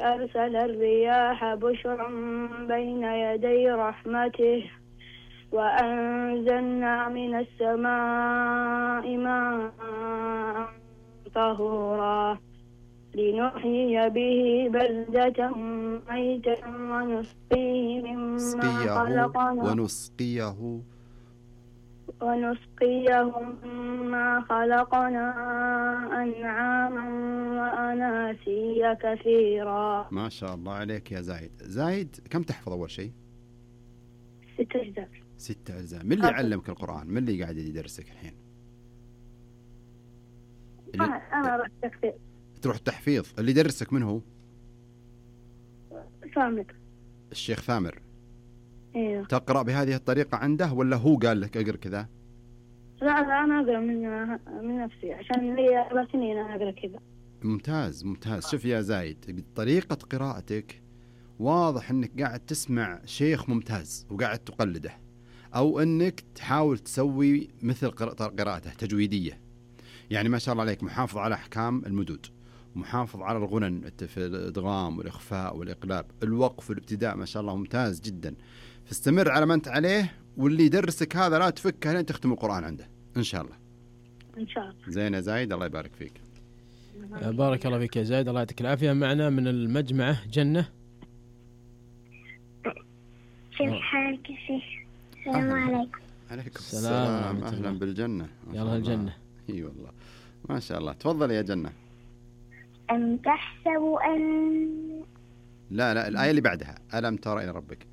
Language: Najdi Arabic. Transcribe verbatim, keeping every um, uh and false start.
أرسل الرياح بشرا بين يدي رحمته وأنزلنا من السماء ماء طهورا لنحيي به بلدة ميتا ونسقيه مما خلقنا ونسقيه ونسقيه مما خلقنا أنعاما وأناسيا كثيرا. ما شاء الله عليك يا زايد. زايد كم تحفظ أول شيء؟ ست أجزاء. ست أجزاء. من اللي علمك القرآن؟ من اللي قاعد يدرسك الحين؟ أنا أنا رحت تحفيظ. تروح تحفيظ. اللي يدرسك من هو؟ ثامر. الشيخ ثامر. ايوه. تقرأ بهذه الطريقة عنده ولا هو قال لك اقرأ كذا؟ لا لا أنا أقرأ من من نفسي عشان لي أربع سنين أنا أقرأ كذا. ممتاز ممتاز. شوف يا زايد، طريقة قراءتك واضح أنك قاعد تسمع شيخ ممتاز وقاعد تقلده، أو أنك تحاول تسوي مثل قراءته تجويدية. يعني ما شاء الله عليك محافظ على أحكام المدود، محافظ على الغنن في الإدغام والإخفاء والإقلاب، الوقف والابتداء، ما شاء الله ممتاز جدا. فاستمر على ما أنت عليه، واللي يدرسك هذا لا تفكه لين تختم القرآن عنده إن شاء الله. إن شاء الله. زين يا زايد، الله يبارك فيك. بارك الله فيك يا زايد، الله يعطيك العافية. معنا من المجمعة جنة. كيف حالك يا شيخ؟ السلام عليكم. عليكم السلام. أهلا بالجنة. يلا الجنة. اي والله ما شاء الله. تفضل يا جنة. أم تحسب أن لا لا الآية اللي بعدها، ألم تر إلى ربك.